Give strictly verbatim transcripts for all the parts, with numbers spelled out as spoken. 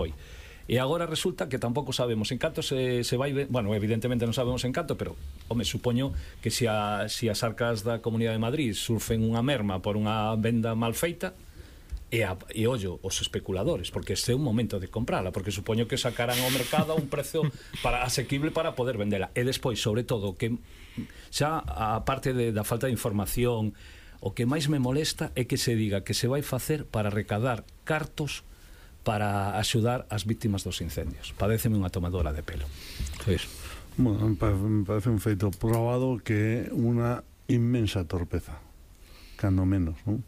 foi. E agora resulta que tampouco sabemos en canto se, se vai... Bueno, evidentemente non sabemos en canto, pero, home, supoño que se, a, se as arcas da Comunidade de Madrid surfen unha merma por unha venda mal feita, e, a, e ollo, os especuladores, porque este é un momento de comprala, porque supoño que sacarán ao mercado a un prezo para, asequible para poder vendela. E despois, sobre todo, que xa a parte de, da falta de información, o que máis me molesta é que se diga que se vai facer para recadar cartos para axudar as víctimas dos incendios. Padéceme unha tomadora de pelo. Pois. Bueno, me parece un feito probado que é unha inmensa torpeza, cando menos, non?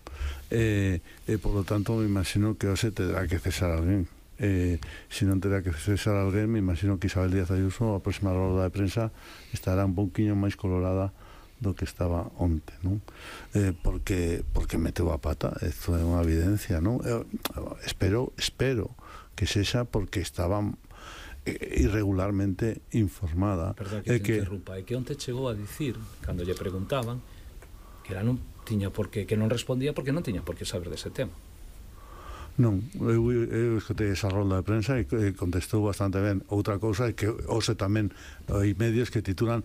E, e por lo tanto me imagino que hoxe terá que cesar alguén. Eh, se non terá que cesar alguén, me imagino que Isabel Díaz Ayuso a próxima roda de prensa estará un pouquiño máis colorada do que estaba onte, non? Eh, porque porque meteu a pata, isto é unha evidencia, non? Eu, espero, espero que sexa porque estaba irregularmente informada. Perdón que te que... interrumpa, é que onte chegou a dicir, cando lle preguntaban, que era non tiña por que, que non respondía porque non tiña por que saber dese tema. Non, eu, eu escutei esa rolda de prensa e contestou bastante ben. Outra cousa é que hoxe tamén hai medios que titulan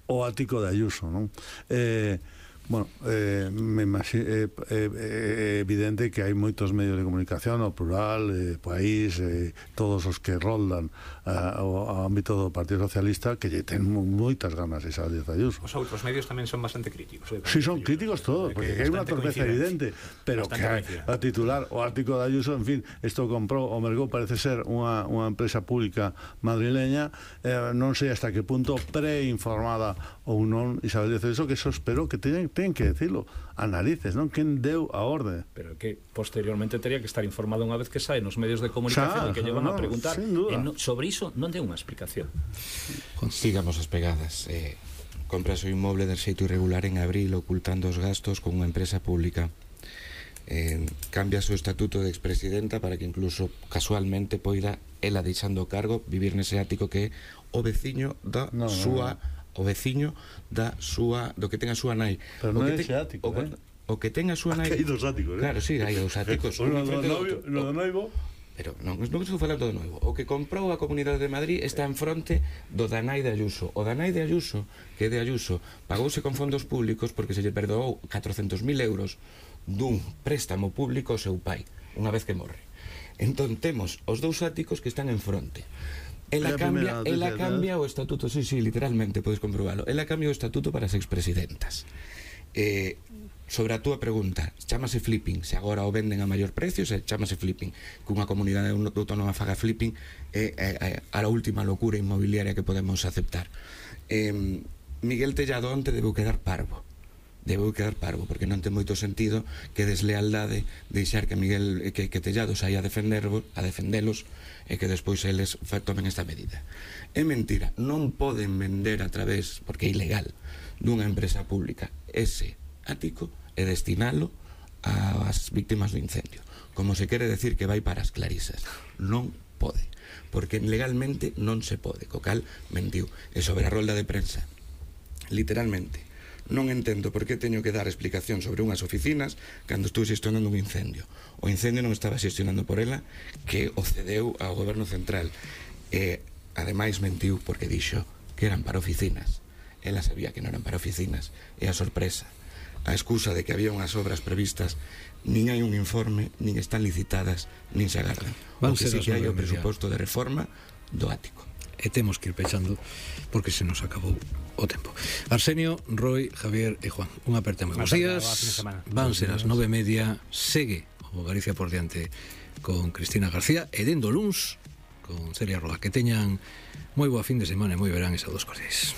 o ático de Ayuso, non? Eh, bueno, eh, me imagino, eh, eh, é evidente que hai moitos medios de comunicación, o Plural, eh, País, eh, todos os que roldan uh, ao ámbito do Partido Socialista, que lle ten moitas ganas esa Díaz Ayuso. Os outros medios tamén son bastante críticos. Eh, Si, sí, son críticos todos, porque hai unha torpeza evidente, pero que hai, a titular o ático de Ayuso, en fin, isto comprou o mercou, parece ser unha, unha empresa pública madrileña, eh, non sei hasta que punto preinformada ou non Isabel Díaz Ayuso, que eso espero que teñen, ten que decirlo a narices, non? Quen deu a orde? Pero que posteriormente teria que estar informado unha vez que sae nos medios de comunicación, xa, que llevan no, a preguntar e no, sobre iso non ten unha explicación. Sigamos as pegadas. eh, Compras o inmoble de xeito irregular en abril, ocultando os gastos con unha empresa pública. eh, Cambias o estatuto de expresidenta para que incluso casualmente poida ela deixando o cargo vivir nese ático que é o veciño da no, súa no, no. o veciño da súa, do que ten a súa nai. Pero non é ese ático, o, eh? O que ten a súa nai. Hai dos áticos, eh? Claro, sí, hai dos áticos. O no do noivo. Pero non, non estou falando do noivo. O que comprou a Comunidade de Madrid está en fronte do da nai de Ayuso. O da nai de Ayuso, que é de Ayuso, pagouse con fondos públicos porque se lle perdoou catrocentos mil euros dun préstamo público ao seu pai, unha vez que morre. Entón temos os dous áticos que están en fronte. Ela cambia, ela cambia o estatuto, sí, sí, literalmente, podes comprobalo. Ela cambia o estatuto para as expresidentas. Eh, sobre a túa pregunta, chámase flipping, se agora o venden a maior precio, se chámase flipping, que unha comunidade autónoma faga flipping é eh, eh, a última locura inmobiliaria que podemos aceptar. Eh, Miguel Tellado onte debeu quedar parvo. Debeu quedar parvo, porque non ten moito sentido que deslealdade deixar que Miguel que, que Tellado saia a defendervos, a defendelos, e que despois eles tomen esta medida. É mentira, non poden vender a través, porque é ilegal, dunha empresa pública ese ático e destinalo ás víctimas do incendio, como se quere decir que vai para as clarisas. Non pode, porque legalmente non se pode, co cal mentiu. E sobre a rolda de prensa, literalmente, non entendo por que teño que dar explicación sobre unhas oficinas cando estou xestionando un incendio. O incendio non estaba xestionando por ela, que o cedeu ao goberno central. E, ademais, mentiu porque dixo que eran para oficinas. Ela sabía que non eran para oficinas. E a sorpresa, a excusa de que había unhas obras previstas, nin hai un informe, nin están licitadas, nin se agardan. O que sí que hai o presuposto de reforma do ático. E temos que ir pechando porque se nos acabou o tempo. Arsenio, Roy, Javier e Juan, unha aperta moi bons días. Van ser as nove e media. Segue o Galicia por diante con Cristina García e dendo luns con Celia Roa. Que teñan moi boa fin de semana e moi verán esa dos cordiais.